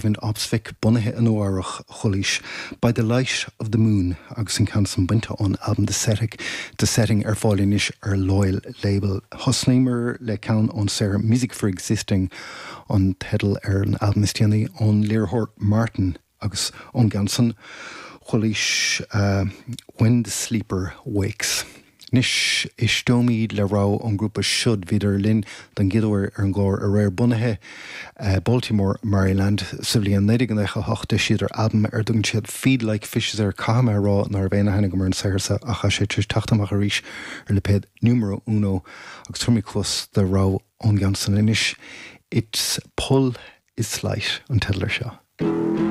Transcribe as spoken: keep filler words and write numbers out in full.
Øyvind Opsvik bunaithe i Nua-Eabhrac chualaís By the Light of the Moon agus an ceann san bainte ón albam The Setting The Setting ar fáil anois ar Loyal Label. Thosnaíomar le ceann ón saothar Music for Existing an teideal ar an albam is déanaí ón léiritheoir Martin agus ón gceann san chualaís uh, When the Sleeper Wakes. Anois éisteoimid le rogha ón grúpa Should bhíodar linn don gcéad uair ar an gclár aréir bunaithe uh, Baltimore, Maryland sa bhliain naoi déag nócha hocht d'eisigh siad albam ar a dtugann siad Feed Like Fishes air caithfidh mé rá nach raibh aon aithne agam ar an saothar seo ach sé tar éis teacht amach arís ar lipéad Numero Uno agus tabharfaimid cluas do rogha ón gceann san anois. Its Pull is Slight an teideal air seo.